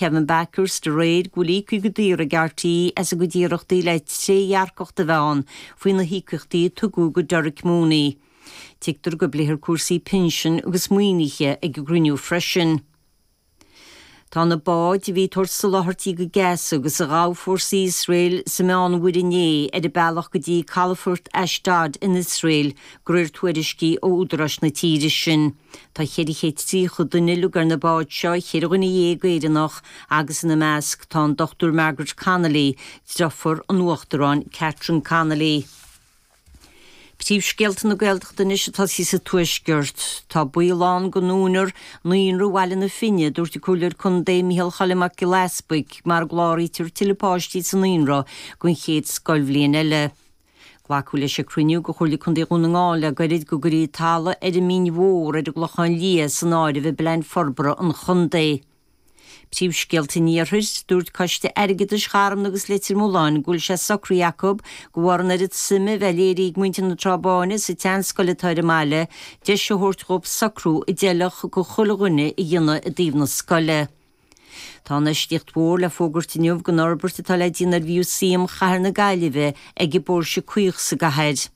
Kevin Bakhurst aréir go bhfuil íoctha go daor ag RTÉ as a gcuid iarrachtaí le trédhearcacht a bheith ann faoi na híocaíochtaí a tugadh go Derek Mooney. Tuigtear go bpléifear cúrsaí pinsin agus maoinithe ag an gcruinniú freisin. Tá na báid a bhí ag tabhairt soláthairtí go Gaza agus a ghabh fórsaí Iosrael sa Meánmhuir inné ar a bealach go dtí calafort Ashdod in Iosrael, de réir tuairiscí ó údaráis na tíre sin. Tá 430 duine uilig ar na báid seo, 14 dhuine Éireannach agus ina measc tá an Dr Margaret Connolly, deirfiúr an Uachtaráin Catherine Connolly. Príomhscéalta na Gaeltachta anois ag tosaí sa Tuaisceart. Tá baol ann go ndúnfar Naíonra Bhaile na Finne, a dúirt an Comhairleoir Contae Micheál Choilm Mac Giolla Easpaig, mara gcláraítear tuilleadh páistí sa naíonra don chéad scoilbhliain eile. Glacadh leis ag cruinniú de Chomhairle Contae Dhún na nGall le gairid go gcuirfí talamh ar an Mín Mhór ar an gClochán Liath san áireamh i bplean forbartha an chontae. Príomhscéalta an Iarthair, Dúirt Coiste Airgeadais Charna agus Leitir Mealláin go bhfuil sé socraithe acu, de bharr an oiread suime a bheith léirithe ag muintir na Trá Báine sa tseanscoil atá ar an mbaile, deis a thabhairt dhóibh socrú a d'fheilfeadh go chuile dhuine a dhéanamh i dtaobh na scoile. Tá infheistíocht mhór le fógairt inniu don fhorbairt atá le déanamh ar Mhúsaem Chathair na Gaillimhe ag an bPóirse Caoch sa gcathair.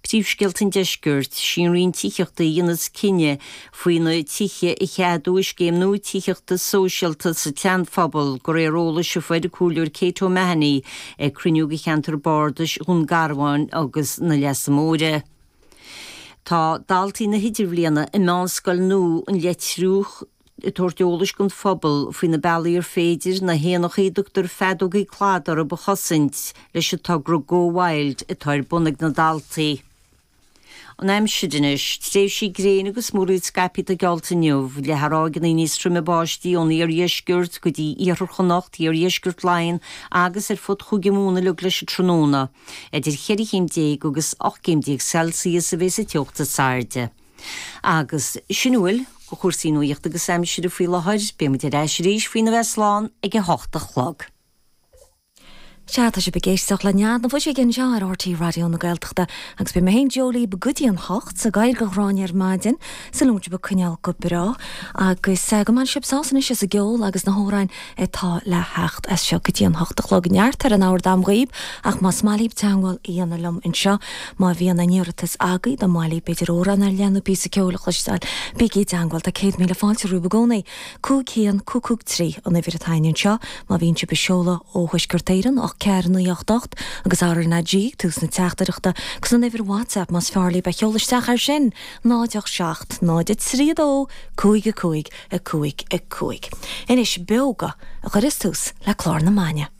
Príomhscéalta an Deiscirt, Sí an Roinn Tithíochta a dhéanfas cinneadh faoi na tithe a cheadú i scéim nua tithíochta sóisialta sa tSeanphobal, de réir eolais a fuair an Comhairleoir Kate O'Mahony ag cruinniú de cheantar bardais Dhún Garbhán agus na Leasa Móire. Tá daltaí na hIdirbhliana i Meánscoil nua an Leitriúich ag tabhairt eolais don phobal faoi na bealaí ar féidir na héanachaí a dtugtar feadógaí cladaigh orthu a chosaint leis an togra Go Wild atá ar bun ag na daltaí. An aimsir anois. Tréimhsí gréine agus múraíl scaipthe atá geallta inniu, le ráigeanna níos troime báistí ón iardheisceart go dtí iarthar Chonnacht, iardheisceart Laighean agus ar fud Chúige Mumhan uilig leis an tráthnóna. Idir cheithre chéim déag agus 18 gcéim Celsius a bheas an teocht is airde. Agus sin a bhfuil de chúrsaí nuachta agus aimsire faoi láthair. Beidh muid ar ais arís faoina bheith slán ag 8 a chlog. Sea, tá sibh ag éisteacht le Nead na Fuiseoige anseo ar RTÉ Raidió na Gaeltachta agus beidh mé féin Joe libh go dtí an hocht ag éirí go Ghráinne ar maidin súil agam go bhfuil sibh ag coinneáil go breá agus go mbainfidh sibh sásamh anois as an gceol agus na hamhráin atá le theacht as seo go dtí an hocht a chlog. Neart ar an ábhar dam dhaoib ach más maith libh teagmháil a dhéanamh liom anseo, má bhíonn aon iarratas agaibh, dá mba mhaith libh b'fhéidir amhrán ar leith nó píosa ceoil a chloisteáil, bígí i dteagmháil, tá 100,000 fáilte romhaibh i gcónaí. 5 1 5 5 3 an uimhir atá againn anseo má bhíonn sibh ag seoladh ó Thuaisceart Éireann, 8 4 9 8 8 agus RnaG ag tús na teachtaireachta agus an uimhir WhatsApp más fearr libh a sheoladh isteach air sin, 0 8 7 0 3 2 5 5 5 5. Anois, Beoga a chuirfeas tús le clár na maidine.